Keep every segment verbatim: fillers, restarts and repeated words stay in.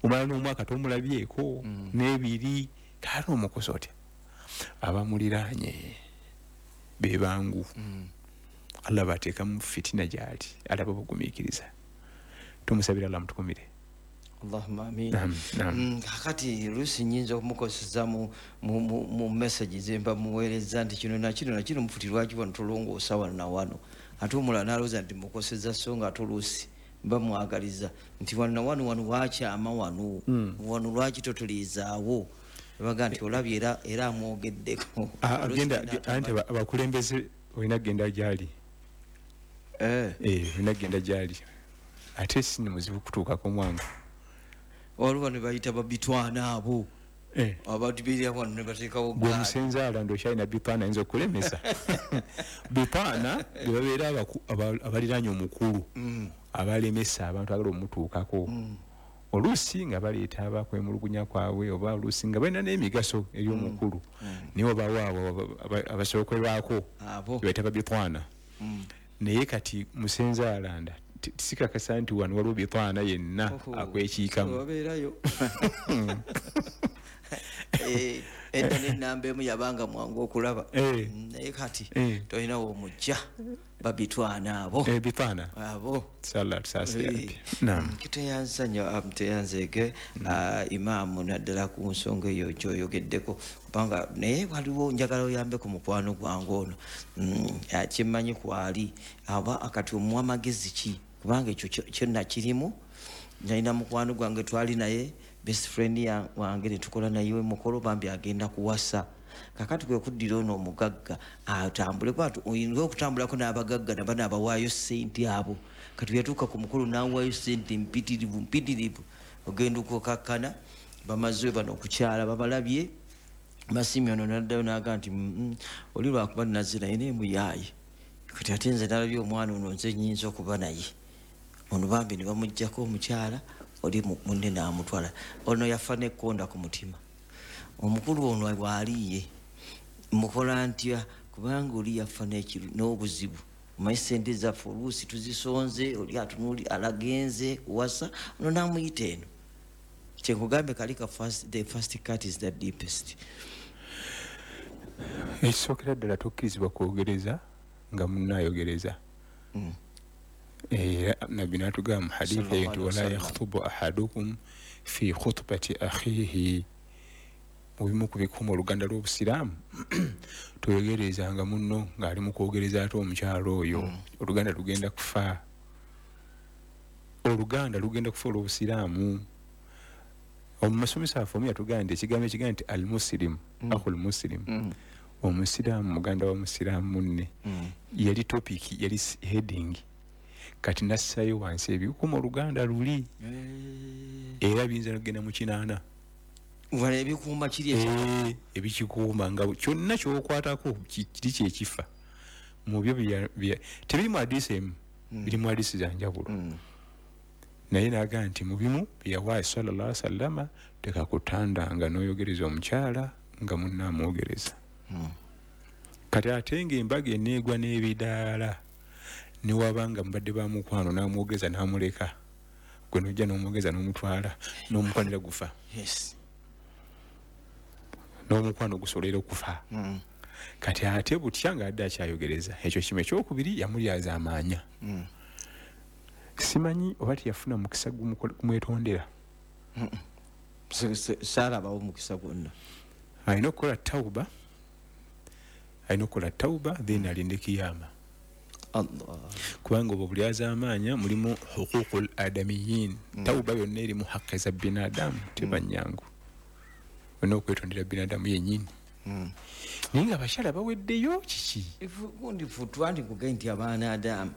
Omala n'omwaka tomulabyeko n'ebiri, kale omukosa otya? Abamuliraanye be bangu. Allah bateekamu fitina gy'ali, alaba bugumiikiriza. Tumusabira Allah mutukumire. Allahumma amin. Kakati lusi nyinza okumukoseza mu, mu, mu, mu message zemba muweereza nti kino na kino na kino mufuti lwaki wano tolongoosa wano na wano, ate omulala n'alowooza nti mukoseza, so nga ate oluusi mba mwagaliza nti wano na wano wano wakyama wano mm. wano lwaki totuliizaawo, baga nti olabye era era amwogeddeko. Agenda anti abakulembeze olina kugenda gy'ali, eh eh olina kugenda gy'ali, ate si ni muzibu kutuukako mwangu. Waliwo ne bayita babitwana abo eh. abantu beera wano ne bateekawo gwe musenzaala ndokyalina bipaana ayinza okulemesa bipaana bwe babeera abaliraanye omukulu mm. abalemesa abantu agala omutuukako mm. oluusi nga baleeta abakwemulugunya kwabwe oba oluusi nga balina n'emigaso eri omukulu mm. naye obawo abo abasookerwako bebayita babitwana. Naye kati musenzaalanda tisikakasa nti wano waliwo bitwana yenna akwekiikamu babeerayo. Edda n'ennamba emu yabanga mwangu okulaba, naye kati tolinawo omujja babitwana abo bitwana abo. Tuteyanza nnyo, tuteyanzeege imaamu naddala ku nsonga eyo gy'oyogeddeko, kubanga naye waliwo njagala oyambe ku mukwano gwange ono kyemmanyi kwali aba akati omuwa magezi ki, kubanga ekyo kyonna kirimu. Nalina mukwano gwange twali naye best friend wange ne tukola naye mukolo, bambi agenda kuwasa. Kakati kwe kuddira ono omugagga atambule kwatu oyinza okutambulako n'abagagga nabano abawaayo ssente abo. Kati yatuuka ku mukolo n'awaayo ssente mpitirivu mpitirivu, ogenda okukakkana bamaze bano okukyala babalabye. Masimi ono n'addayo n'aga nti oli lwakuba nazze naye naye muyaaye, kati ate nze nalabye omwana ono nze nnyinza okuba naye. Ono bambi ne bamuggyako omukyala oli munne n'amutwala. Ono yafa n'ekkonda ku mutima. Omukulu ono bw'aliye mukola ntya, kubanga oli yafa n'obuzibu. Omanyi ssente zaffe oluusi tuzisonze, oli atunuuli alagenze kuwasa, ono n'amuyita eno. Kyenkugambe kali ka first, the first cut is the deepest. Ekisookera ddala tokkirizibwa kwogereza nga munnayogereza. Mm. Era Nabbi n'atugamba mu hadithi eyo nti wala yakhutubu ahadukum fi khutbati akhihi, mu bimu ku bikuuma oluganda lw'obusiraamu toyogerezanga munno ng'ali mu kwogereza ate omukyalo oyo, oluganda lugenda kufa, oluganda lugenda kufa olw'obusiraamu. Omusomesa waffe omu yatugamba nti ekigambo ekigamba nti al musilimu akhul musilimu, omusiraamu muganda wa musiraamu munne, yali topic, yali heading. Kati nassayo wansi ebikuuma oluganda luli era biyinza n'okugenda mu kinaana. Wano ebikuuma kiri ekya ebikikuuma nga kyonna ky'okwatako kiri kyekifa mu byo tebiri mu hadiisi emu, biri mu hadiisi za njawulo. Naye n'agamba nti mu bimu bye yawa sallallahu alaihi wasallama tekakutandanga n'oyogereza omukyala nga munne amwogereza. Kati ate ng'embaga eneegwa n'ebidaala newabanga mubadde ba mukwano n'amwogeza n'amuleka, gwe n'ojja n'omwogeza n'omutwala n'omukwanira gufa. Yes. N'omukwano gusolera okufa. Mm. Kati ate butya ng'adde akyayogereza. Ekyo kimu. Ekyokubiri yamulyaza amaanya. Mm. Simanyi oba teyafuna mukisa gumwetondera. Saalabawo mukisa gwonna. Alina okukola tawuba, alina okukola tawuba then alinde kiyama. Allah. Kubanga obwo bulyazaamaanya mulimu huququl adamiyin. Mm. Tawuba yonna erimu haki za binadamu teba nnyangu. Olina okwetondera binadamu yennyini. Mm. Naye nga abakyala baweddeyo kiki? Gundi futwa nti kugaye nti abaana adamu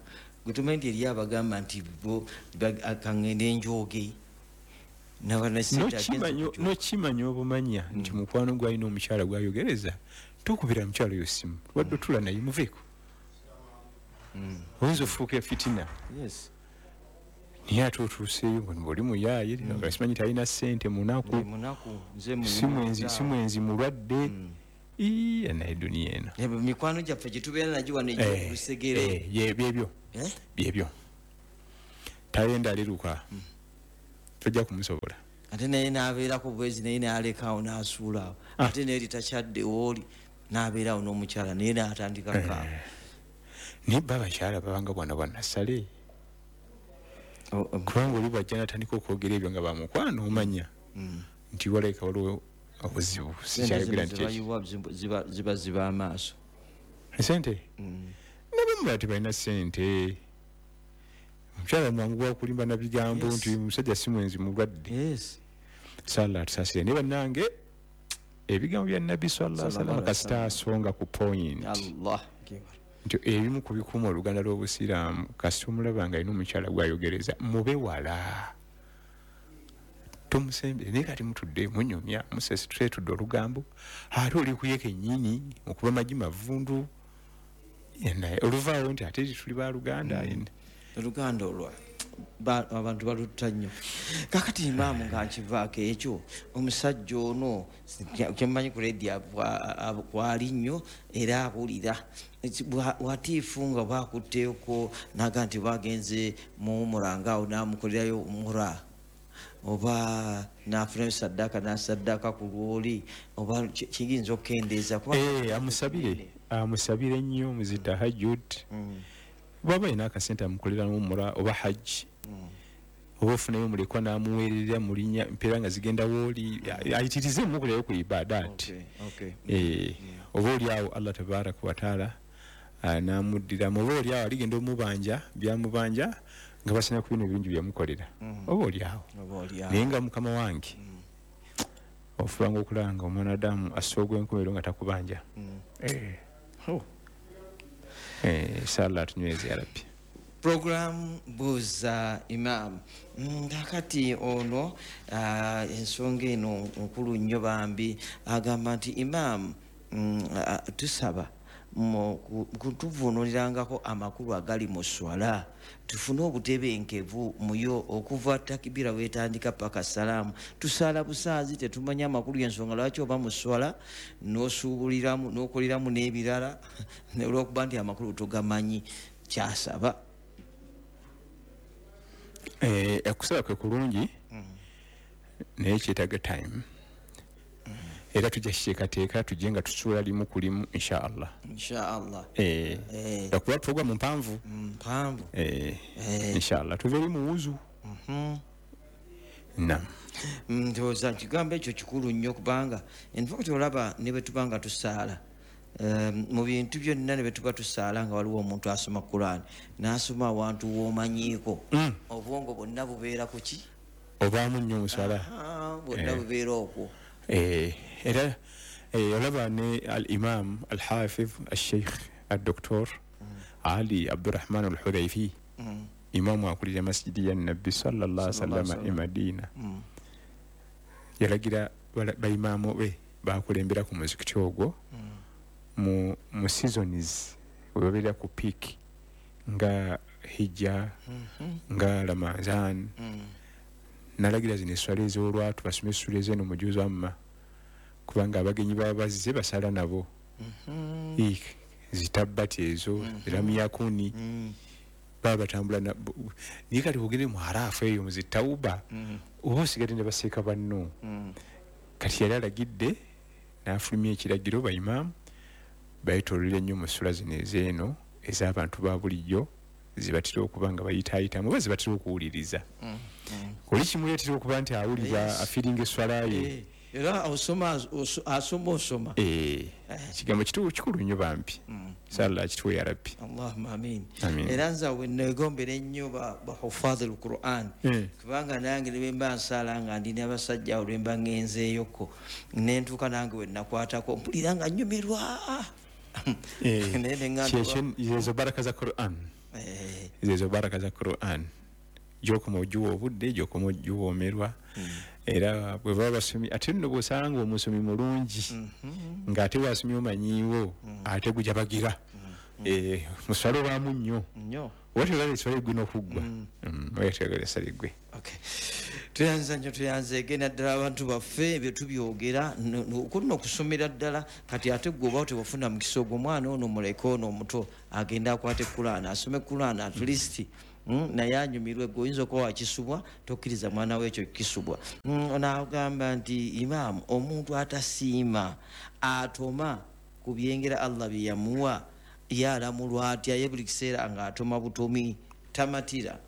gwe tumanyi nti eri abagamba nti bo kaŋŋende njooge. N'okimanya obumanya nti mukwano gw'alina omukyala gw'ayogereza tukubira mukyala oyo ssimu wadde otula naye muveeko. Oyinza ofuuka fitina. Yes. Naye ate otuuseeyo ng'oli muyaaye, nga simanyi talina ssente, munaku, si mwenzi, mulwadde. Ii, naye duniya eno. Mikwano gyaffe gye tubeera nagyo wano egy'olusegere. Byebyo. Byebyo. Tayenda aliruka. Tojja kumusobola. Ate naye n'abeerako bwezi naye n'alekaawo n'asuulaawo. Ate naye litakyadde wooli n'abeerawo n'omukyala naye n'atandika kaaba. Naye ba abakyala babanga bwana bwa nassale. Kubanga oli bw'ajja n'atandika okwogera ebyo nga bamukwano omanya nti walabika waliwo obuzibu. Sikyayogera nti ziba ziba ziba amaaso. Sente? Nabamu tebalina ssente. Omukyala mwangu gwa kulimba na bigambo nti omusajja si mwenzi mulwadde. Sala atusaasire. Naye bannange ebigambo bya Nabbi sallallahu alaihi wasallam kasita asonga ku point. Allah nti ebimu ku bikuuma oluganda lw'obusiraamu kasita omulaba nga alina omukyala gw'ayogereza mube wala. Tomusembere naye kati mutudde munyumya musesetudde olugambo ate oli kuye kennyini okuba magi mavundu naye oluvaawo nti ate tuli baluganda. Oluganda olwo abantu balutta nnyo. Kakati imaamu nga nkivaako ekyo omusajja ono kyemmanyi ku rediyo kwali nnyo era awulira watiifu nga bwakutteeko naga nti bagenze mu umura ngaawo n'amukolerayo umura oba n'afunayo saddaaka n'asaddaaka ku lwoli oba kiyinza okukendeeza. Amusabire amusabire nnyo mu zi tahajjud. Bw'aba alina akasente amukolera umura oba hajji oba ofunayo mulekwa n'amuweerera mu linnya mpeera nga zigenda wooli ayitirize mukolerayo ku ibadaati. Oba oli awo Allah tabaraka wa taala n'amuddiramu oba oli awo aligenda omubanja byamubanja nga basanya ku bino ebirungi byamukolera oba oli awo. Naye nga mukama wange ofubanga okulaba nga omwanadamu assa ogw'enkomerero nga takubanja. Inshallah tunyweze ya Rabbi. Program Buuza Imam. Kakati ono ensonga eno nkulu nnyo bambi agamba nti Imam tusaba kutuvuunulirangako amakulu agali mu swala tufune obutebenkevu muyo okuva takibira wetandika paka salaamu. Tusaala busaazi tetumanya amakulu y'ensonga lwaki oba mu swala n'osuubuliramu n'okoleramu n'ebirala olw'okuba nti amakulu togamanyi kyasaba. Okusaba kwe kulungi naye kyetaaga time. Era tujja kiteekateeka tujje nga tusuula limu ku limu inshallah. Inshallah. Eh. Okuba programu mpanvu. Mpanvu. Eh. Inshallah tuve eri mu wuzu. Mhm. Naam. Ndowooza kigambo ekyo kikulu nnyo kubanga in fact olaba ne bwe tuba nga tusaala mu bintu byonna ne bwe tuba tusaala nga waliwo omuntu asoma Quran n'asoma awantu w'omanyiiko obwongo bwonna bubeera ku ki? Obaamu nnyo mu swala. Bwonna bubeera okwo. Era olaba ne al-Imam al-Hafiz al-Sheikh al-Doktor Ali Abdurrahman al-Hudhaifi imamu akulira masjidi ya Nabbi sallallahu alaihi wasallam e Madina yalagira baimamu be bakulembera ku muzikiti ogwo mu mu seasons we babeera ku peak nga hijja nga Ramazan nalagira zino eswala ez'olwatu basome essula ez'eno mujuzi amma kubanga abagenyi baba bazze basala nabo zitabbati ezo ramiyakuni baba batambula naye kati ogende mu harafu eyo mu zitawuba oba osigadde ne baseeka banno. Kati yali alagidde n'afulumya ekiragiro baimaamu bayetoololera nnyo mu ssula zino ez'eno ez'abantu ba bulijjo zibatera okuba nga bayitaayitamu oba zibatera okuwuliriza. Oli kimuleetera okuba nti awulira afiiringa esswala ye. Era osoma asoma osoma. Eh. Kigambo kituufu kikulu nnyo bambi. Inshallah kituwe ya Rabbi. Allahumma amin. Era nze we neegombera ennyo ba hufadhi al-Qur'an. Kubanga nange ne bwe mba nsaala nga ndi n'abasajja awo lwe mba ngenzeeyoko ne ntuuka nange we nakwatako mpulira nga nnyumirwa. Eh. Ezo baraka za Qur'an. Ezo baraka za Qur'an. Gy'okoma ogiwa obudde gy'okoma ogiwoomerwa. Era bwe baba basomi ate nno bw'osanga omusomi mulungi ng'ate bw'asomye omanyiiwo ate gujabagira muswala obaamu nnyo oba toyagala esswala eggwe n'okuggwa oba toyagala esswala eggwe. Tuyanza nnyo tuyanzeege naddala abantu baffe ebyo tubyogera kuno okusomera ddala kati ate gwe oba tewafuna mukisa ogwo omwana ono muleke ono omuto agende akwate Kulaani asome Kulaani at least mm, naye anyumirwe gwe oyinza okuba wakisubwa tokkiriza mwana we ekyo kisubwa. Mm, n'agamba nti imaamu omuntu atasiima atoma ku byengera Allah bye yamuwa yalamulwa atya ye buli kiseera ng'atoma butomi tamatira?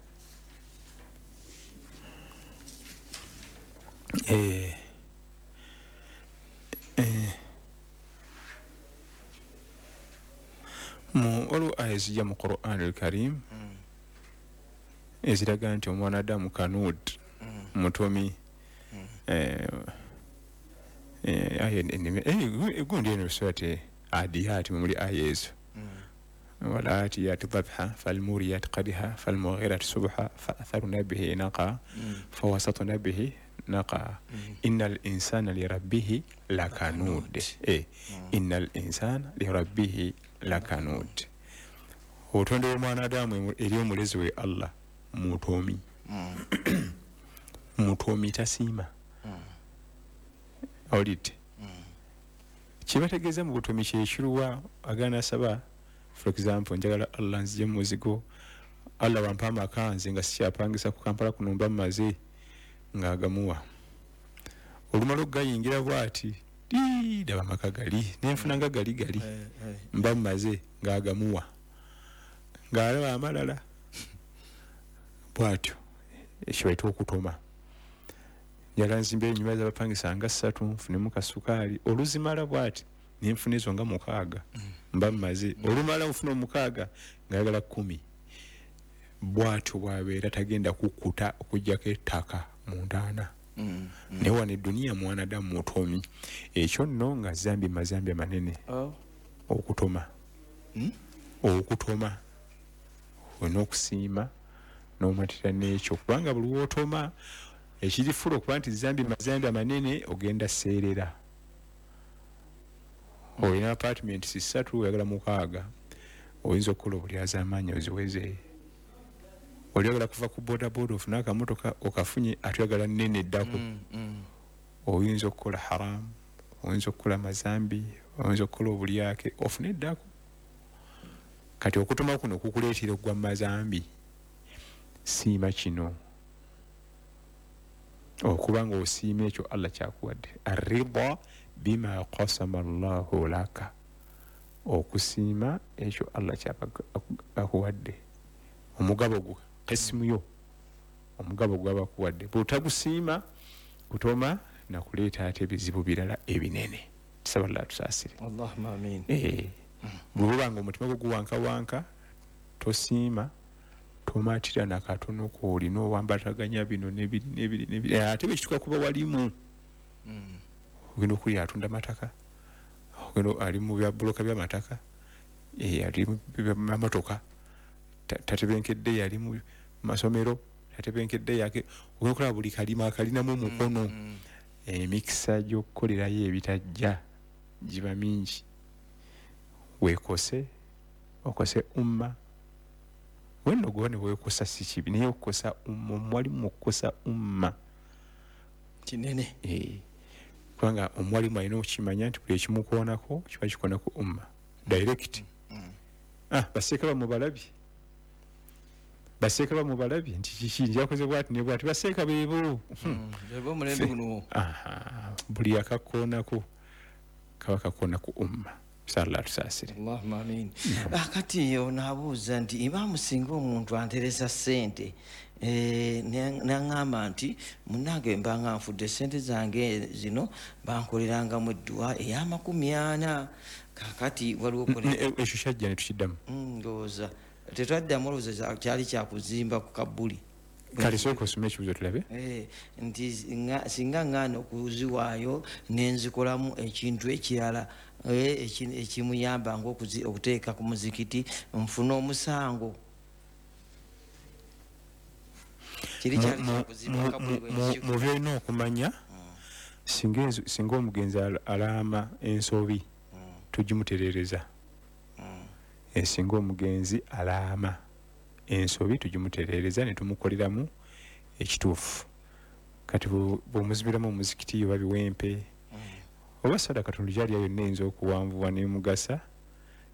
Eh, eh. Mu waliwo aya ezijja mu Quran al-Karim mm. eziraga nti omwana Adamu kanud mm. mutomi mm. eh, eh, aya eh, gundi eno surati Adiyat muli aya ezo mm. والآتيات ضبحا فالموريات قدها فالمغيرات سبحا فأثرنا به نقا mm. فوسطنا به نقا mm. إن الإنسان لربه لكنود eh. mm. إن الإنسان لربه لكنود. Obutonde bw'omwanadamu eri omulezi we Allah mutomi mm. mutomi tasiima mm. awulidde mm. kibategeeza mu butomi kyekiruwa agaana saba. For example, njagala Allah nzije mu muzigo, Allah wampa amaka nze nga sikyapangisa ku Kampala kuno mba mmaze, ng'agamuwa. Olumala okugayingira bw'ati daba amaka gali nenfuna nga gali gali eh, eh. mba mmaze, ng'agamuwa ng'alaba amalala bw'atyo. Ekyo bayita okutoma. Njagala nzimbe ennyumba z'abapangisa nga ssatu nfunemu kasukaali, oluzimala bw'ati nenfuna ezo nga mukaaga mba mmaze. Olumala nfuna omukaaga ng'ayagala kkumi. Bw'atyo bw'abeera tagenda kukkuta okuggyako ettaka mu ntaana. Mm. Mm. Naye wano eduniya mwanadamu mutomi. Ekyo nno nga zambi mazambi amanene. Oh. Okutoma mm? Okutoma olina okusiima n'omatira n'ekyo, kubanga buli lw'otoma ekirifula okuba nti zambi mazambi amanene ogenda seerera. Olina apartment ssatu oyagala mukaaga, oyinza okukola obulyazaamaanyi oziweze. Oli oyagala kuva ku bodaboda ofune akamotoka okafunye ate oyagala nnene eddako. mm, mm. Oyinza okukola haramu, oyinza okukola mazambi, oyinza okukola obulyake ofune eddako. Kati okutoma kuno kukuleetera okugwa mu mazambi. Siima kino okuba nga osiima ekyo Allah kyakuwadde. Arrida bima qasama Allahu laka, okusiima ekyo Allah kyakuwadde, omugabo gwo, qismu yo, omugabo gwabakuwadde. Bw'otagusiima kutoma nakuleeta ate ebizibu birala ebinene. Tusaba Allah atusaasire. Allahumma amin. Eh, bw'oba nga omutima gwo guwankawanka tosiima, tomatira na katono k'olina, owambataganya bino n'ebiri n'ebiri n'ebiri, ate bwe kituuka kuba walimu mm. ogenda okulya atunda mataka, ogenda ali mu bya buloka by'amataka, eh, ali mu by'amamotoka, tatebenkedde yali mu masomero, tatebenkedde yake, ogenda okulaba buli kalima akalinamu omukono. mm. Emikisa gy'okukolerayo ebitajja giba mingi. Weekose, okose umma. Wenno gwe ne weekosa si kibi, naye okukosa umma, omwalimu okukosa umma kinene. Eh, kubanga omwalimu alina okukimanya nti buli ekimukoonako kiba kikoonako umma direct. mm. mm. Ah, baseeka bamubalabye, baseeka bamubalabye nti kiki njakoze bw'ati ne bw'ati, baseeka beebo beebo omulembe guno. Aha, buli akakoonako kaba kakoona ku umma. Sallallahu tusaasire. Allahumma amin. Akati ono abuuza nti imaamu singa omuntu anteresa ssente eh, n'aŋŋamba nti munnange mba nga nfudde ssente zange zino bankolerangamu edduwa ey'amakumi ana, kaakati waliwo ekyo kyajja ne tukiddamu. Ndowooza tetwaddamu, olowooza kyali kyakuzimba ku kabbuli. Kale sooka osome ekibuuzo tulabe. Eh, nti singa ŋŋaana okuziwaayo ne nzikolamu ekintu ekirala ekimuyamba ng'okuteeka ku muzikiti nfune omusango. Kiri kyali kyakuzimba kabbuli. Mu by'olina okumanya, singa omugenzi alaama ensobi tugimutereereza. Singa omugenzi alaama ensobi tugimutereereza ne tumukoleramu ekituufu. Kati bw'omuzibiramu omuzikiti oba biwempe oba sadaka katonda gy'alya yonna eyinza okuwanvuwa n'emugasa,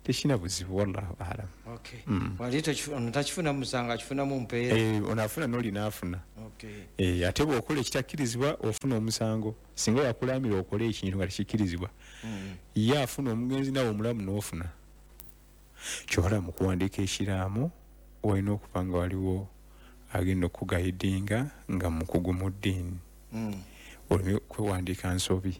Tekirina buzibu, wallahu alam. Okay. Wali takifuna musango, akifunamu mpeera. Eh, onaafuna n'oli n'afuna. Okay. Eh, ate bw'okola ekitakkirizibwa ofuna omusango. Singa yakulamira okole ekintu nga tekikkirizibwa, Mm. ye afuna omugenzi, nawe omulamu n'ofuna. Kyobola mu kuwandiika ekiraamo olina okuba nga waliwo agenda okugayidinga nga mukugu mu ddiini, Mm. oleme kwewandiika nsobi,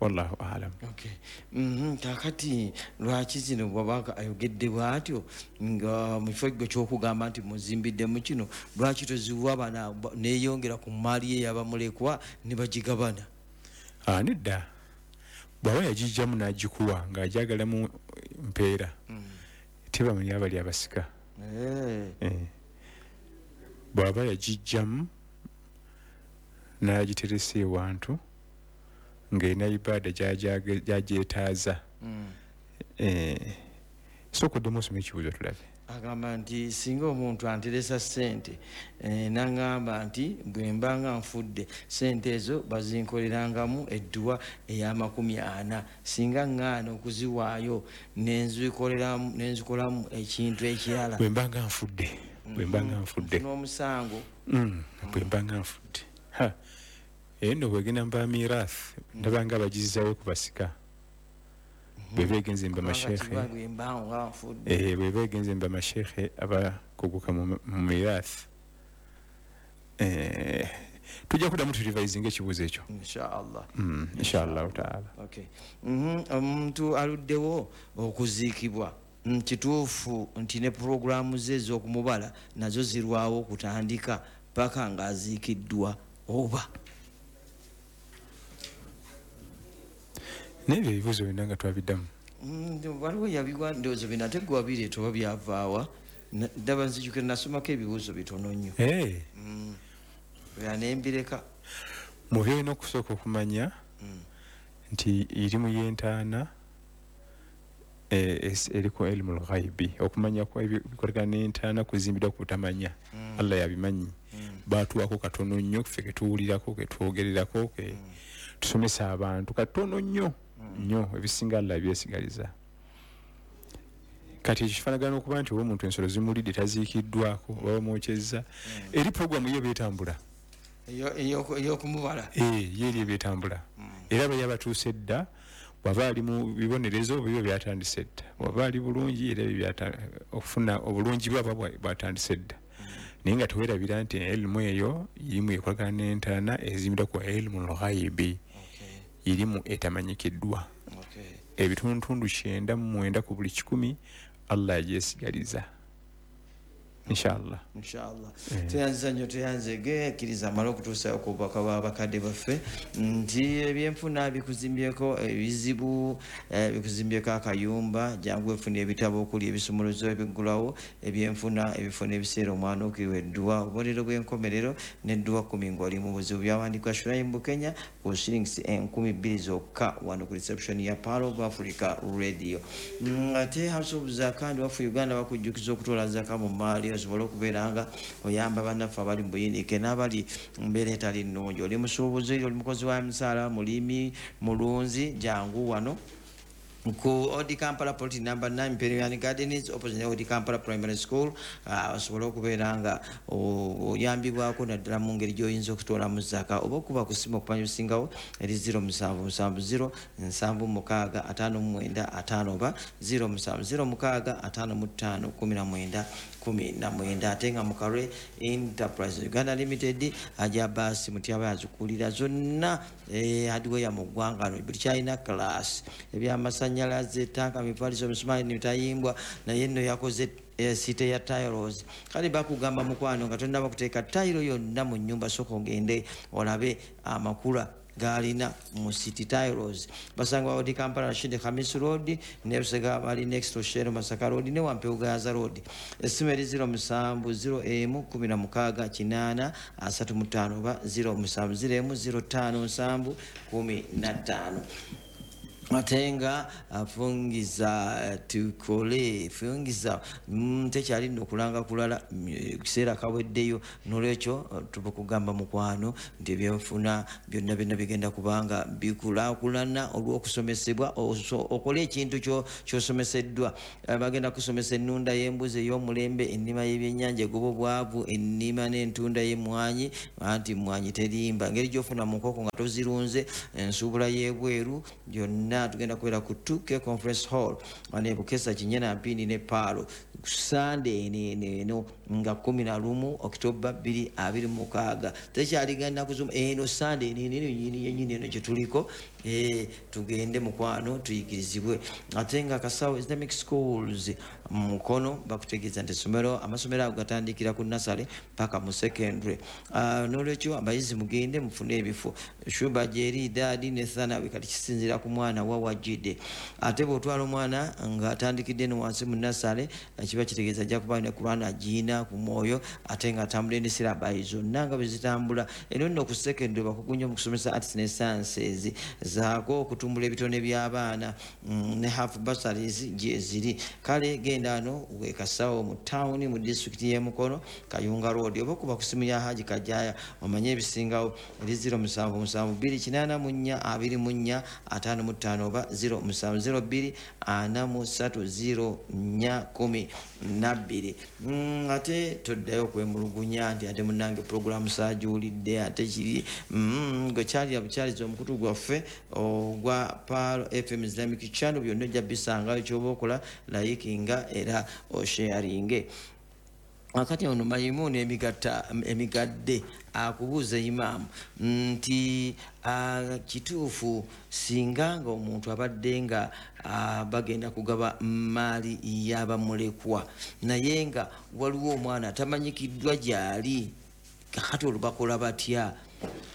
wallahu alam. Okay. Mhm, kakati lwaki zino bw'aba ayogedde bw'atyo nga mu kifo gwe ky'okugamba nti muzimbiddemu kino, lwaki toziwa bana ba- neeyongera ku maali ye yabamulekwa ne bagigabana? Ah, nedda, bw'aba yagijjamu n'agikuwa ng'agyagalamu mpeera, tebamanya abali abasika. Eh. Eh. Bw'aba yagijjamu n'agiteresa ewantu ng'erina ibaada gy'agyage- gy'agyetaaza. Mm. Eh, sooka oddemu osome ekibuuzo tulabe. Agamba nti singa omuntu anteresa ssente, eh, n'aŋŋamba nti bwe mba nga nfudde ssente ezo bazinkolerangamu edduwa ey'amakumi ana, singa ŋŋaana okuziwaayo nenzikoleramu nenzikolamu ekintu ekirala, Bwe mba nga nfudde, bwe mba nga nfudde, nfuna omusango? Mm, bwe mba nga nfudde. Ha, eyo nno bwegenda mu bamirath, ndaba nga bagizzayo ku basika bwe begenze mu bamasheekhe. Kubanga kiba bwe mba nga nfudde. Eh, bwe begenze mu bamasheekhe abakuguka mu mu mirath. Eh, tujja kuddamu turevisinga ekibuuzo ekyo. Inshaallah. Mm, inshallahu taala. Okay. Mhm, omuntu aluddewo okuziikibwa, Mm, kituufu nti ne puroguramu ze ez'okumubala nazo zirwawo okutandika paka ng'aziikiddwa oba? Naye ebyo ebibuuzo byonna nga twabiddamu. Mm, waliwo yabiwa, ndowooza bino ate gwe wabireeta oba byavaawa. Na- ddaba nzijukira nasomako ebibuuzo bitono nnyo. Eh, Mm. Ya nembireka. Mu byolina okusooka okumanya Mm. nti irimu y'entaana, eh, es- eriko elimu lghaibi, okumanya kwa ebyo bikolagana n'entaana kuzimbiddwa ku butamanya. Mm. Allah yabimanyi. Mm. Baatuwako katono nnyo ffe ketuwulirako, ketwogererako, ke tusomesa abantu katono nnyo nnyo, ebisinga Allah byesigaliza. Kati ekyo kifaanagana okuba nti oba omuntu ensolo zimulidde taziikiddwako oba bamwokyezza, eri puroguramu ye beetambula. Eyo- eyo- ey'okumubala. Eh, ye eri ebyetambula, era bali abatuuse edda, bw'aba ali mu bibonerezo bibyo byatandise dda, bw'aba ali bulungi era ebyo byata- okufuna obulungi bwe aba bwa- bwatandise dda. Naye nga teweerabira nti elimu eyo irimu ekolagana n'entaana ezimbiddwa ku elimu lghaibi, Okay. irimu etamanyikiddwa. Okay. Ebitundutundu kyenda mu mwenda ku buli kikumi Allah yagyesigaliza, inshallah. Inshallah. Tweyanziza nnyo, tweyanzege. Kkiriza amale okutuusayo ku bubaka bw'abakadde baffe nti ebyenfuna bikuzimbyeko ebizibu, eh, bikuzimbyeko akayumba, jangu wefuna ebitabo okuli ebisumuluzo ebiggulawo ebyenfuna, ebifo n'ebiseera omwana okiriwa edduwa, obubonero bw'enkomerero n'edduwa kkumi ng'oli mu buzibu. Byawandiikwa Shuraim Bukenya ku shillings enkumi bbiri zokka wano ku reception ya Pearl of Africa Radio. Mm, ate House of Zaka ndi waffe Uganda bakujjukiza okutoola zaka mu maali osobole okubeera nga oyamba bannaffe abali mu buyinike n'abali mu mbeera etali nnungi. Oli musuubuzi, oli mukozi wa misaala, mulimi, mulunzi, jangu wano ku Old Kampala Plot number nine, Imperial Gardens, opposite Old Kampala Primary School, uh, osobole okubeera nga o- oyambibwako naddala mu ngeri gy'oyinza okutoolamu zaka, oba okuba ku ssimu okumanya osingawo eri zero musanvu musanvu zero nsanvu mukaaga ataano mu mwenda ataano oba zero musanvu zero mukaaga ataano mu ttaano kumi na mwenda kumi na mwenda. Ate nga Mukalwe Enterprise Uganda Limited ajja baasi Mutyaba yazikulira zonna, eh, hardware mu ggwanga no buli kyalina class, ebyamasanyalaze, tanka, mifaliso, misumaali nemitayimbwa, naye nno yakoze site ya tiles. Kale bakugamba mukwano nga tonnaba kuteeka tayiro yonna mu nnyumba, sooka ogende olabe amakula galina mu City Tiles. Basangibwa Old Kampala, Rashid Khamis Road, ne Busega bali next to Shell Masaka Road ne Wampewo Gaza Road. Essimu eri zero musanvu zero emu kumi na mukaaga kinaana asatu mu ttaano oba zero musanvu zero emu zero ttaano nsanvu kumi na ttaano. Ate nga afungiza tukole fungiza mm, tekyali nno kulanga kulala kiseera kaweddeyo. Nolwekyo tubakugamba mukwano nti ebyenfuna byonna byonna bigenda kubanga bikulaakulana olw'okusomesebwa, okole ekintu kyosomeseddwa. Bagenda kusomesa ennunda y'embuzi ey'omulembe, ennima y'ebyennyanja egoba obwavu, ennima n'entunda y'emmwanyi, anti mmwanyi terimba, engeri gy'ofuna mu nkoko nga tozirunze, ensuubula y'ebweru, byonna tugenda kubeera ku two K Conference Hall wano e Bukesa Kinyana Mpindi ne Paalo Sande eno eno nga kumi na lumu Okitoba bbiri abiri mu mukaaga. Tekyaligenda kuzuma eno Sande eno eno yennyini yennyini eno gye tuliko, eh, tugende mukwano tuyigirizibwe. Ate nga Kasawo Islamic Schools Mukono bakutegeeza nti essomero amasomero ago gatandikira ku nasale paka mu secondary. Uh, n'olwekyo abayizi mugende mufune ebifo. Shuba gyeri daadi ne Thanawi kati kisinziira ku mwana wa wajjidde. Ate bw'otwala omwana ng'atandikidde eno wansi mu nasale, kiba kitegeeza ajja kuba ne Kur'ani agiina ku mwoyo, ate ng'atambula ne syllabi zonna nga bwe zitambula. Eno nno ku secondary bakugu nnyo mu kusomesa arts ne sciences, zaako okutumbula ebitone by'abaana mm, ne half bursaries gye ziri. Kale genda ano we Kasawo mu town mu district y'e Mukono, Kayunga Road, oba okuba ku simu ya Haji Kajaya omanye ebisingawo eri zero musanvu musanvu bbiri kinaana mu nnya abiri mu nnya ataano mu ttaano oba zero musanvu zero bbiri ana mu ssatu zero nnya kumi na bbiri. Mm, ate toddayo okwemulugunya nti ate munnange pulogulaamu saagiwulidde, ate kiri mm, gwe kyalira bukyaliza omukutu gwaffe ogwa Pearl F M Islamic Channel, byonna ojja bisangayo. Ky'oba okola likinga era osharinge. Akati ono Maimuna emigatta emigadde akubuuza imaamu nti kituufu singa nga omuntu abadde nga bagenda kugaba maali y'abamulekwa naye nga waliwo omwana atamanyikiddwa gy'ali, kakati olwo bakola batya?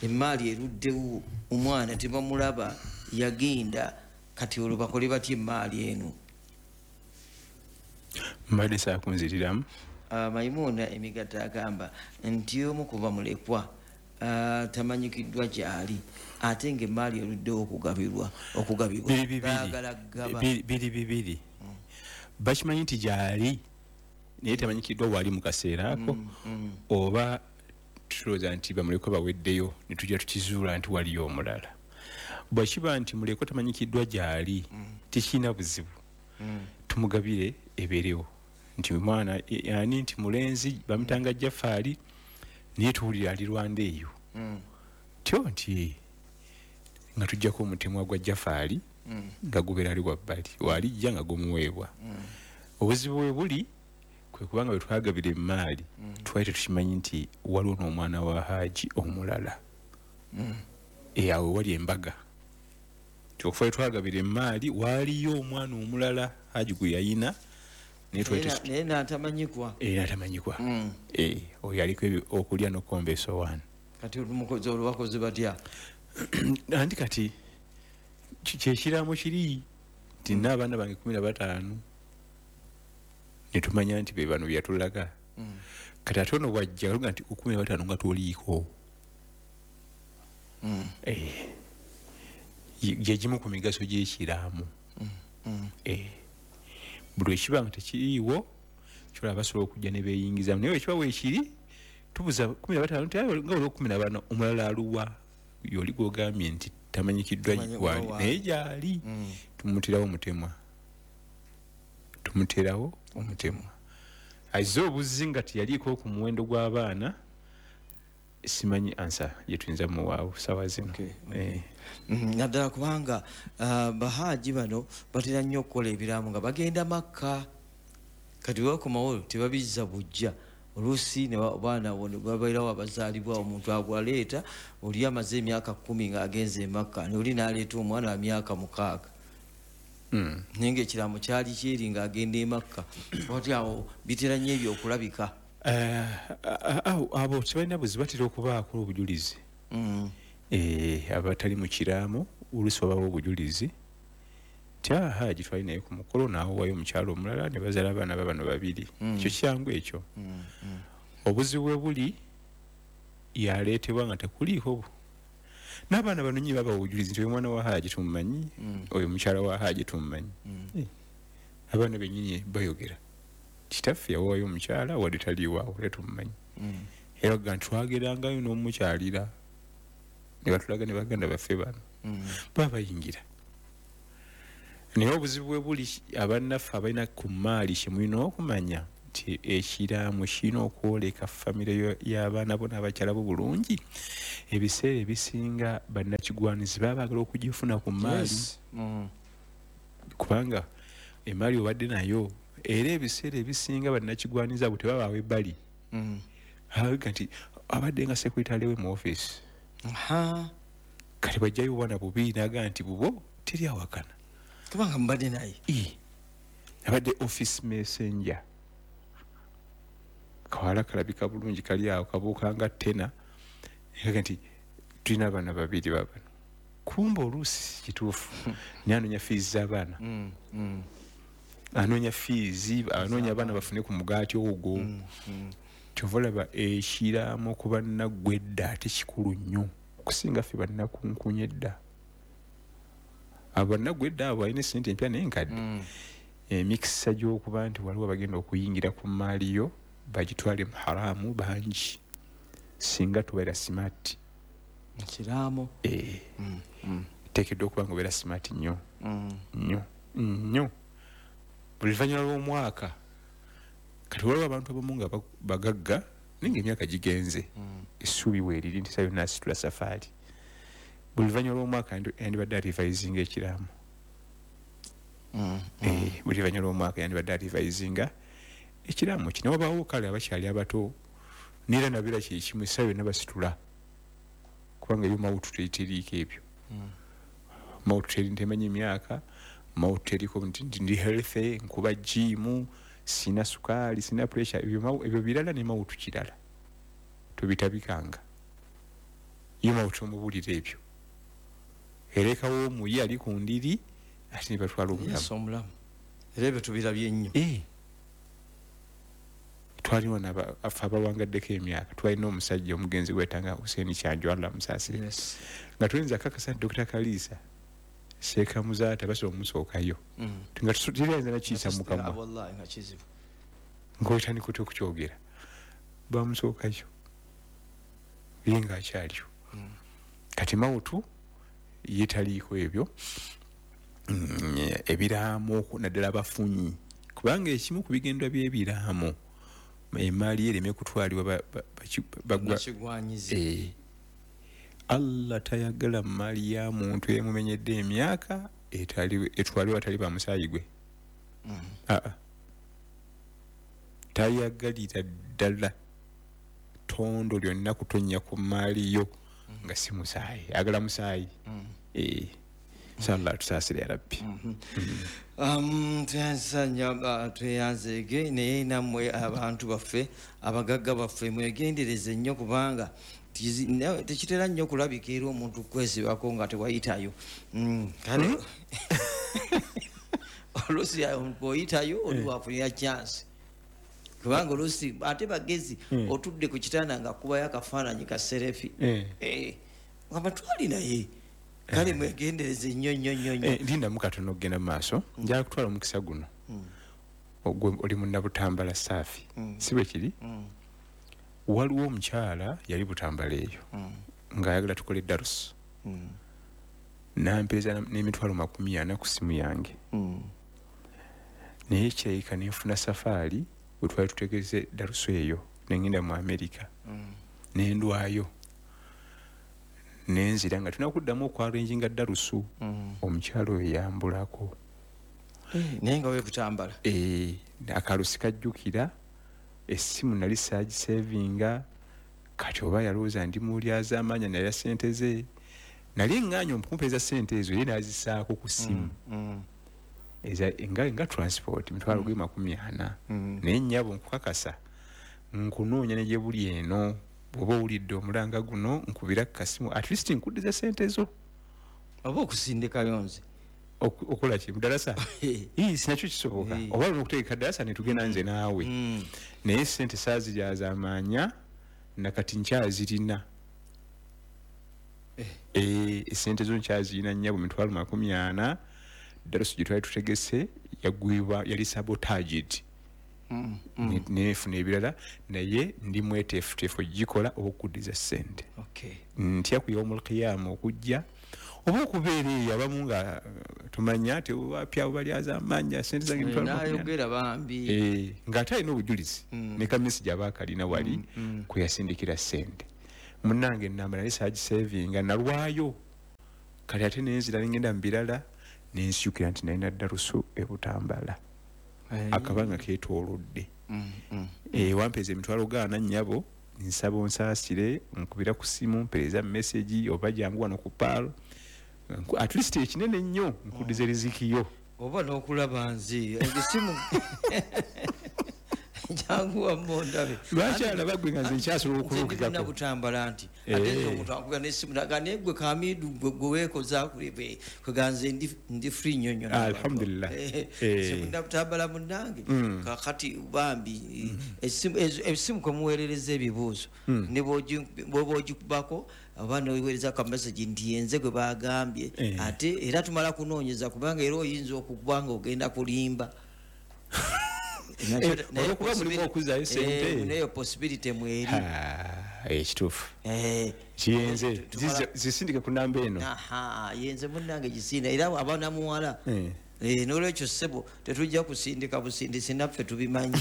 Emaali eruddewo, omwana tebamulaba yagenda, kati olwo bakole batya emaali eno? Mbadde saakunziriramu. Uh, Maimuna emigatta agamba nti omu kuba mulekwa uh, tamanyikiddwa gy'ali ate ng'emaali eruddewo okugabirwa okugabibwa baagala kugaba biri bibiri. Mm. Bakimanyi nti gy'ali naye tamanyikiddwa wali mu kaseera ako. mm, mm. Oba tulowooza nti bamulekwa baweddeyo ne tujja tukizuula nti waliyo omulala. Bwe kiba nti mulekwa tamanyikiddwa gy'ali, mm. tekirina buzibu. mm. Tumugabire ebeerewo nti mwana ani nti mulenzi bamutanga Jafaali naye tuwulira ali Rwanda eyo. mm. Tyo nti nga tujjako omutemwa gwa Jafaali mm. nga gubeera ali wabbali walijja nga gumuweebwa. mm. Obuzibu bwe buli kwe kubanga bwe twagabira emaali mm. twali tetukimanyi nti waliwo n'omwana wa Haji omulala. mm. E awo wali embaga ti okufa bwe twagabira emaali waaliyo omwana omulala Haji gwe yayina naye n'atamanyikwa. N'atamanyikwa. Oyo aliko okulya n'okukomba essowaani. Kati olumukozi olwo bakoze batya? Anti kati kyekiraamo kiri nti nina abaana bange kumi na bataano ne tumanya nti be bano bye yatulaga. Kati ate ono bw'ajja aluga nti kumi na bataano nga toliiko. Gye gimu ku migaso gy'ekiraamo. Buli ekiba nga tekiriiwo kyolaba basobola okujja ne beeyingizamu, naye bwe kiba weekiri tubuza kumi na bataano nti nga waliwo kumi na bana omulala aluwa yoli gw'ogambye nti tamanyikiddwa waali naye gy'ali. Tumuterawo omutemwa, tumuterawo omutemwa azze obuzzi nga teyaliiko ku muwendo gw'abaana. Simanyi ansa gye tuyinza muwaawo ssaawa zino. Naddala kubanga bahaji bano batera nnyo okukola ebiraamo nga bagenda Makka, kati bwe bakomawo tebabizza bujja, oluusi abaana babeerawo abazaalibwa omuntu agwaleeta oli amaze emyaka kkumi ng'agenze e Makka, oli n'aleeta omwana wa myaka mukaaga. Naye ng'ekiraamo kyali kyeri ng'agenda e Makka. Ati awo bitera nnyo ebyo okulabika. Abo tebalina buzibu, batera okubaako obujulizi. Abatali mu kiraamo oluusi wabawo obujulizi nti Haji twali naye ku mukolo n'awowayo omukyalo omulala ne bazaala abaana ba bano babiri. Ekyo kyangu ekyo. Obuzibu bwe buli yaleetebwa nga tekuliiko. N'abaana bano nyi babawa obujulizi nti oyo mwana wa Haji tumumanyi, oyo mukyala wa Haji tumumanyi. Abaana bennyini bayogera kitaffe yawaayo omukyala wadde taliiwaawo era tumumanyi. Era ga ntwagerangayo n'omukyalira ne batulaga ne baganda baffe bano baba bayingira. Naye obuzibu bwe buli abannaffe abalina ku mmaali kye mulina okumanya nti ekiraamo kirina okwoleka famire y'abaana bo n'abakyala bo bulungi. Ebiseera ebisinga bannakigwanizi baba baagala okugifuna ku mmaali, kubanga emmaali obadde nayo. Era ebiseera ebisinga bannakigwanizi abo tebabaawo ebbali, abaga nti abadde nga sekuritale we mu ofiisi, kati bajjayo obwana bubiri n'agaa nti bubo teri awakana kubanga mbadde naye. Abadde office messenger, kawala kalabika bulungi kali awo kabuuka nga tena, aga nti tulina abaana babiri babano. Kumba oluusi kituufu naye anoonya fiizi z'abaana, anoonya fiizi, anoonya abaana bafune ku mugaati ogwo. Kyova olaba ekiraamo ku bannaggwe edda ate kikulu nnyo okusinga ffe bannakunkunya edda. Abo bannaggwe edda abo balina essente empya naye nkadde, emikisa gy'okuba nti waliwo abagenda okuyingira ku mmaali yo bagitwale mu haramu bangi singa tubeera smart. Ekiraamo teekeddwa okuba nga obeera smart nnyo nnyo nnyo buli luvannyuma lw'omwaka. Kati waliwo abantu abamu nga bagagga naye ng'emyaka gigenze, essuubi weeriri nti sayo naasitula safaari. Buli luvannyuma lw'omwaka yandibadde arivisinga ekiraamo. Buli luvannyuma lw'omwaka yandibadde arivisinga ekiraamo kino. Wabaawo kale abakyali abato neera nabeera kyekimu, essaawa yonna basitula kubanga yo mawutu teriiko ebyo. Mawutu teri ntemanyi emyaka, mawutu teriko nti ndi healthy, nkuba gym, sina sukaali, sina pressure, ebyo birala ne mawutu kirala tobitabikanga. Yo mawutu omubuulira ebyo, erekawo omuyi ali ku ndiri ate ne batwala omulamu. Era ebyo tubirabye nnyo. Twaliwo afe abawangaddeko emyaka, twalina omusajja omugenzi gwetanga Hussein Kyanjo, Allah amusaasire, nga tuyinza kakasa nti Dokita Kaliisa Sheikh Muzaata basobola omusookayo, nga teriyinza nakiyisa mu kamwa ng'otandika otya okukyogera, bamusookayo ye ng'akyaliyo. Kati mawutu ye taliiko ebyo ebiraamo naddala abafunyi, kubanga ekimu ku bigendwa by'ebiraamo emmaali ereme kutwalibwa bagwa. Allah tayagala mmaali ya muntu emumenyedde emyaka etwalibwa atali bamusaayi gwe. Aa tayagalira ddala ttondo lyonna kutonnya ku mmaali yo nga si musaayi, agala musaayi. Inshallah tusaasire ya Rabbi. Tweyanzanya tweyanzeege naye nammwe abantu baffe abagagga baffe mwegendereze nnyo kubanga tekitera nnyo kulabika era omuntu kwesibako nga tewayitayo. Kale oluusi bw'oyitayo oli wafunira chance kubanga oluusi ate bagezi otudde ku kitanda nga kubayo akafaananyi ka serefi nga batwali naye. Kale mwegendereze nnyo nnyo nnyo nnyo. Lindamu katono okugenda mu maaso, njagala kutwala omukisa guno. Oli munnabutambala saafi, si bwe kiri? Waliwo omukyala yali Butambala eyo ng'ayagala tukole darusu, nampeeza n'emitwalo makumi ana ku ssimu yange, naye kirabika nenfuna safaari bwe twali tutegeze darusu eyo nengenda mu Amerika nendwayo nenzira nga tulina okuddamu okwarenjinga darusu. Omukyala oyo yambulako naye nga webutambala akalusi kajjukira essimu nali saagisevinga, kati oba yalowooza ndi mulyazaamaanya nalya ssente ze, nali ŋŋaanya omukumpeeza ssente ezo ye n'azisaako ku ssimu nga transport mitwalo gwe makumi ana. Naye nnyabo nkukakasa nkunoonya ne gye buli eno, bw'oba owulidde omulanga guno nkubira ku kasimu at least nkuddiza ssente zo oba okusindikayo nze okola ki mudalasa sinakyo kisoboka oba olina okutegeka ddalasa ne tugenda nze naawe. Naye ssente saaziryazaamaanya nakati nkyazirina. Eh, esente zo nkyaziina nnyabo mitwalo makumi ana. Darusu gye twali tutegese yagwibwa, yali sabotaged. Mm, mm. Nefuna ebirala, naye ndi mweteefuteefu ogikola okuddiza ssente. Okay. Ntya ku yawmul qiyama okujja oba okubeera eyo abamu nga tumanya nti wapya abo balyaza amanya ssente zange emitwalo makumi ana. Nayogera bambi. Eh, ng'ate alina obujulizi Mm. ne kamisi gy'aba akalina wali Mm, mm. kwe yasindikira ssente. Munnange ennamba nali saagisevinga, nalwayo kale ate nenzira nengenda mu birala nensyukira nti nalina darusu e Butambala. Ayi. Akabanga keetoolodde. Mm, mm. Eh, wampeeza emitwalo gaana nnyabo, nsaba onsaasire, nkubira ku ssimu, mpeereza message oba jangu wano ku paalo. Nku-, at least ekinene ennyo nkuddiza riziki yo. Oba n'okulaba nze, essimu jangu wamma ondabe. Lwaki alaba gwe nga nze nkyasobola Nze ndi okulukikako? munna Butambala nti, Eh. ate nze omuntu akubira n'essimu n'agamba, naye gwe Kamidu, gwe, gwe weekoza kuli, kwe nze ndi, ndi free nnyo nnyo n'abantu. Alhamdulillah. Eh, Eh. nze munna Butambala munnange. Mm. Kaakati bambi, Mm. essimu, ezo, essimu kwe muweerereza ebibuuzo, Mm. ne bw'ogi-, bw'oba ogikubako, oba n'oweereza ka message nti yenze gwe baagambye. Eh. Ate era tumala kunoonyeza kubanga era oyinza okukuba ng'ogenda kulimba. Eh, olwokuba mulimu okuzzaayo ssente. Eh, nayo possibility mweri. Ha, eh, kituufu. Eh, Kiyenze. tumala Zize, zisindike ku namba eno. Aha, yenze munnange gisinda era abaana muwala. Eh. Eh, n'olwekyo ssebo tetujja kusindika busindisi naffe tubimanyi.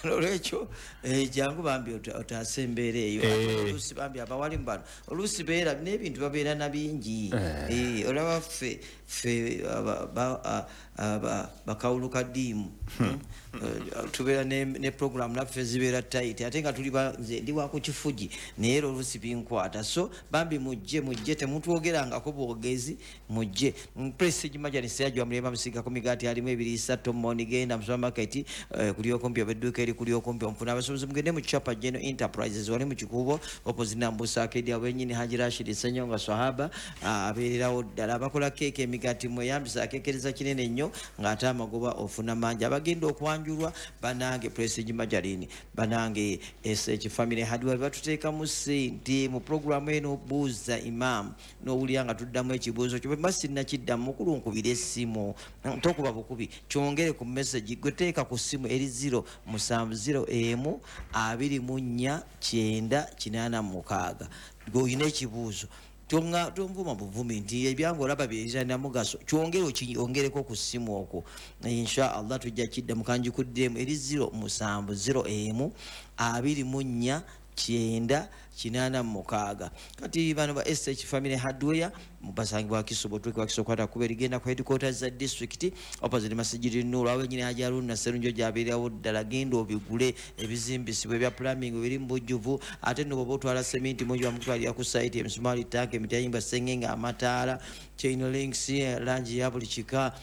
N'olwekyo, eh, jangu bambi ota-, otaase embeera eyo. Eh. Ate oluusi bambi abawalimu bano, oluusi beera n'ebintu babeera na bingi. Eh. Eh, olaba ffe, ffe, aba, ba, a, aba, bakawuluka ddiimu. Hmm. Eh, tubeera ne, ne program naffe zibeera tight, ate nga tuli ba, nze ndi wa ku kifugi, naye era oluusi binkwata. So bambi mujje, mujje, temutwogerangako bwogezi, mujje. Prestige Margarine Seyajja Mulembe amusiigako migaati alimu ebiriisa, Tomoni genda mu supermarket, eh, kuli okumpi oba edduuka eri kuli okumpi omufuna. Abasuubuzi mugende mu Chapa General Enterprises wali mu Kikuubo, opposite Nambusa Arcade, awo wennyini Haji Rashid Ssenyonga Swahaba, ah, abeererawo ddala. Abakola keeke emigaati mweyambisa akeekereza kinene nnyo ng'ate amagoba ofuna mangi. Abagenda okwanjulwa banange Prestige Margarine, banange S H Family Hardware batuteekamu ssente mu programu eno Buuza Imam, n'owulira nga tuddamu ekibuuzo kyo. Bwe mba sinnakiddamu, mukulu nkubira essimu, tokuba bukubi, kyongere ku message gwe teeka ku ssimu eri zero musanvu zero emu abiri mu nnya kyenda kinaana mu mukaaga. Gwe olina ekibuuzo, tonga, tonvuma buvumi nti ebyange olaba byerina mugaso, kyongere okyongereko ku ssimu okwo. Insha Allah tujja kiddamu, kanjikuddemu eri zero musanvu zero emu abiri mu nnya kyenda kinaana mu mukaaga. Kati bano ba S H Family Hardware basangibwa Wakiso, Butweke Wakiso kwata kuba erigenda ku headquarters za district opposite Masjid Nur, awo wennyini Haji Haruna Sserunjogi abeerawo ddala. Genda obigule ebizimbisibwa ebya plumbing biri mu bujjuvu, ate nno bw'oba otwala cement mungi bamutwalira ku site, emisumaali, tank, emitayimbwa, sengenge, amataala, chain links, langi ya buli kika,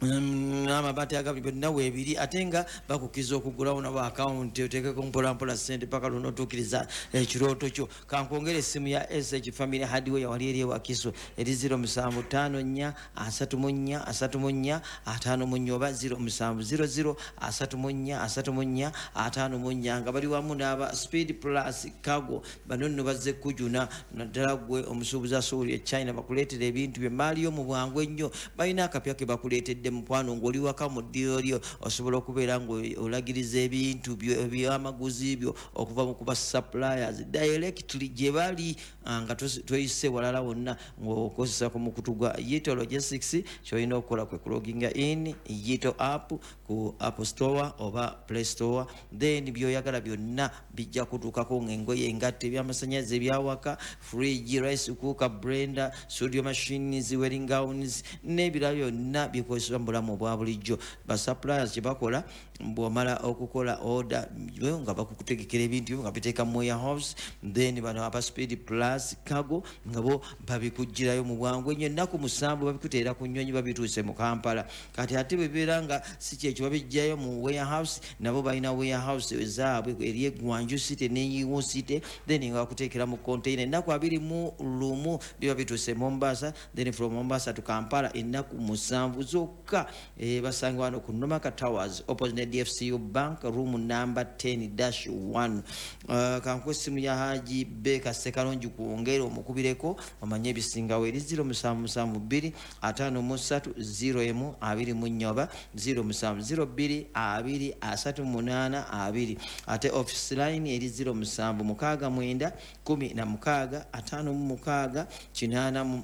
Mm, amabaati agabiri byonna weebiri, ate nga bakukkiriza okugulawo nabo akawunti oteekeko mpolampola ssente paka lw'onootuukiriza ekirooto kyo. Kankwongere essimu ya S H Family Hardware wali eri e Wakiso eri zero musanvu ttaano nnya asatu mu nnya asatu mu nnya ataano mu nnya oba zero musanvu zero zero asatu mu nnya asatu mu nnya ataano mu nnya, nga bali wamu n'aba Speed Plus Cargo. Bano nno bazze kujuna naddala ggwe omusuubuzi asuubula e China, bakuleetera ebintu bye maali yo mu bwangu ennyo. Balina akapya ke bakuleetedde mukwano, ng'oli waka mu ddiiro lyo osobola okubeera ng'olagiriza ebintu byo ebyamaguzi byo okuva mu kuba suppliers directly gye bali, ah, nga tosi-, toyise walala wonna ng'okozesa ku mukutu gwa Yito Logistics. Ky'olina okukola kwe kuloginga in Yito app ku App Store oba Play Store, then by'oyagala byonna bijja kutuukako ng'engoye, engatto, ebyamasannyalaze, ebyawaka, fridge, rice cooker, blender, studio machines, wedding gowns n'ebirala byonna bikozesebwa mu bulamu obwa bulijjo. Ba suppliers kye bakola, bw'omala okukola order yo nga bakukutegekera ebintu byo nga biteeka mu warehouse, then bano aba Speed Plus Cargo nga bo babikuggyirayo mu bwangu ennyo. Ennaku musanvu babikuteera ku nnyonyi babituuse mu Kampala. Kati ate bwe bibeera nga si kyekyo, babiggyayo mu warehouse, nabo balina warehouse ezaabwe eri e Gwanju City ne Yiwu City, then nga bakuteekera mu container. Ennaku abiri mu lumu biba bituuse Mombasa, then from Mombasa to Kampala ennaku musanvu zokka. Abavubuka e, basangibwa wano ku Nomaka Towers opposite D F C U Bank, room number ten dash one. uh, kankuwe essimu ya Haji Beka Sekalongi kwongera omukubireko omanye ebisingawo eri zero musanvu musanvu bbiri ataano mu ssatu zero emu abiri mu nnya oba zero musanvu zero bbiri abiri asatu munaana abiri. Ate office line eri zero musanvu mukaaga mwenda kumi na mukaaga ataano mu mukaaga kinaana mu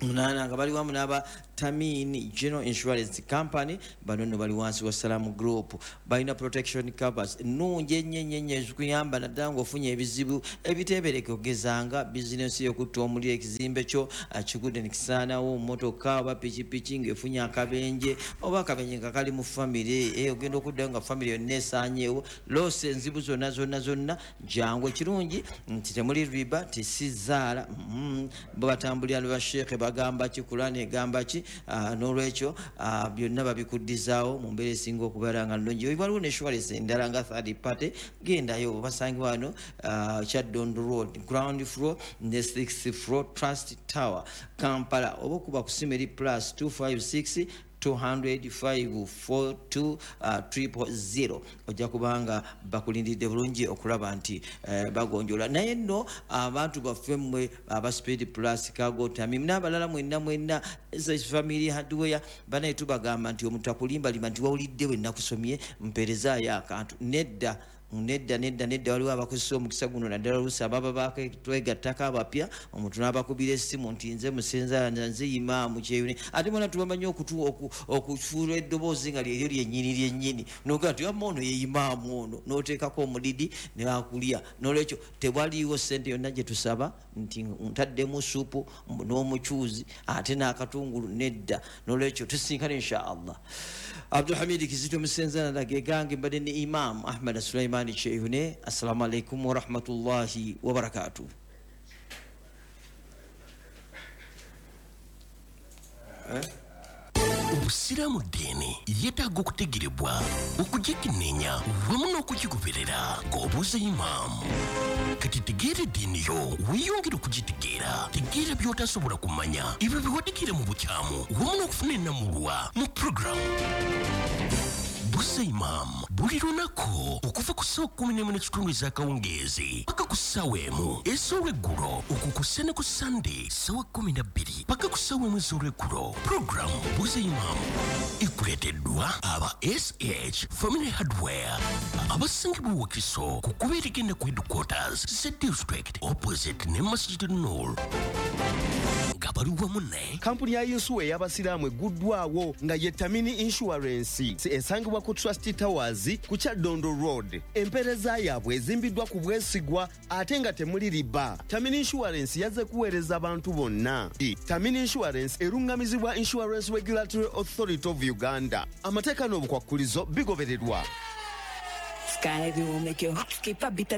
munaana, nga bali wamu n'aba Tamini General Insurance Company. Bano nno bali wansi wa Salamu Group, balina protection covers nnungi ennyo ennyo ennyo ezikuyamba naddala ng'ofunye ebizibu ebiteebereka, okugezanga bizinensi y'okutta omuliro, ekizimbe kyo kigudde ne kisaanawo, mmotoka oba pikipiki ng'efunye akabenje oba akabenje nga kali mu famire, eh, ogenda okuddayo nga famire yonna esaanyeewo, loosi enzibu zonna zonna zonna. Jangu, ekirungi nti temuli riba, tesizaala, mm, bo batambulira ne basheekhe bagamba ki, Kulaani egamba ki, uh, n'olwekyo uh, byonna babikuddizaawo mu mbeera esinga okubeera nga nnungi. Waliwo ne insurance endala nga third party, gendayo basangibwa wano uh, Kyaddondo Road, ground floor ne sixth floor, Trust Tower, Kampala, oba okuba ku simu eri plus two five six two hundred five four two, uh, triple zero. Ojja kubanga bakulindiridde bulungi okulaba nti eh, bagonjola. Naye nno abantu baffe mmwe aba Speed Plus Cargo Tamim n'abalala mwenna mwenna Family Hardware, banaye tubagamba nti omuntu akulimbalima nti wawulidde we nakusomye mpeerezaayo akantu. Nedda nedda nedda nedda, waliwo abakozesa omukisa guno naddala oluusi ababa bakatwegattako abapya, omuntu n'abakubira essimu nti nze musenza nze imaamu Kyeyune, ate mwena tubamanyi okufuula eddoboozi nga lyeryo lyennyini lyennyini, n'ogamba nti wamma ono ye imaamu ono, n'oteekako omulidi ne bakulya. N'olwekyo tewaliiwo ssente yonna gye tusaba nti ntaddemu supu n'omucuuzi ate n'akatungulu, nedda. N'olwekyo tusinkane insha Allah. Abdulhamid Kizito Musenza nagegange mbadde ne Imam Ahmad Sulaiman Kyeyune. Assalamu alaikum wa rahmatullahi wa barakatuh. Eh? Obusiraamu ddiini yeetaaga okutegerebwa, okugikenneenya wamu n'okugigoberera ng'obuuza imaamu. Kati tegeera eddiini yo, weeyongere okugitegeera. Tegeera by'otasobola kumanya, ebyo bye wategeera mu bukyamu wamu n'okufuna ennamulwa mu puroguramu Buuza Imaamu buli lunaku okuva ku ssaawa kkumi n'emu n'ekitundu ez'akawungeezi paka ku ssaawa emu ez'olweggulo, okwo ku ne ku Sande ssaawa kkumi na bbiri paka ku ssaawa emu ez'olweggulo. Puroguramu Buuza Imaamu ekuleeteddwa aba S H Family Hardware abasangibwa Wakiso ku kkubo erigenda ku headquarters za district opposite ne Masjid Nur, nga bali wamu ne kampuni ya yinsuwa ey'abasiraamu egguddwawo nga ye Tamini Insurance, esangibwa ku Trust Towers ku Kyaddondo Road. Empeereza yaabwe ezimbiddwa ku bwesigwa ate nga temuli riba. Tamini Insurance yazze kuweereza abantu bonna. Tamini Insurance erungamizibwa Insurance Regulatory Authority of Uganda. Amateeka n'obukwakkulizo bigobererwa. Sky will make your heart skip a beat.